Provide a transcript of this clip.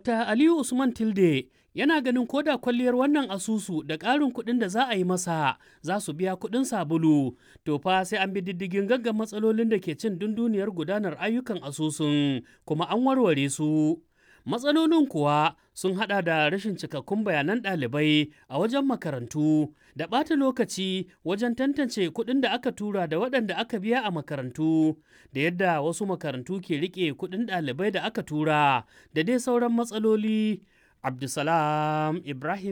Dr. Aliyu Usman Tilde yana ganin koda kwalliyar wannan asusu da ƙarin kuɗin da za a yi masa za su biya kuɗin sabulu. To fa sai an bi diddigin gaggan matsalolin da ke cin dunduniyar gudanar ayyukan asusun kuma an warware su. Matsalolin kuwa sun hada da rashin cikakkun bayanan ɗalibai a wajen makarantu da ɓata lokaci wajen tantance kuɗin da aka tura da waɗanda aka biya a makarantu da yadda wasu makarantu ke riƙe kuɗin ɗalibai da aka tura da dai sauran matsaloli. Abdulsalam Ibrahim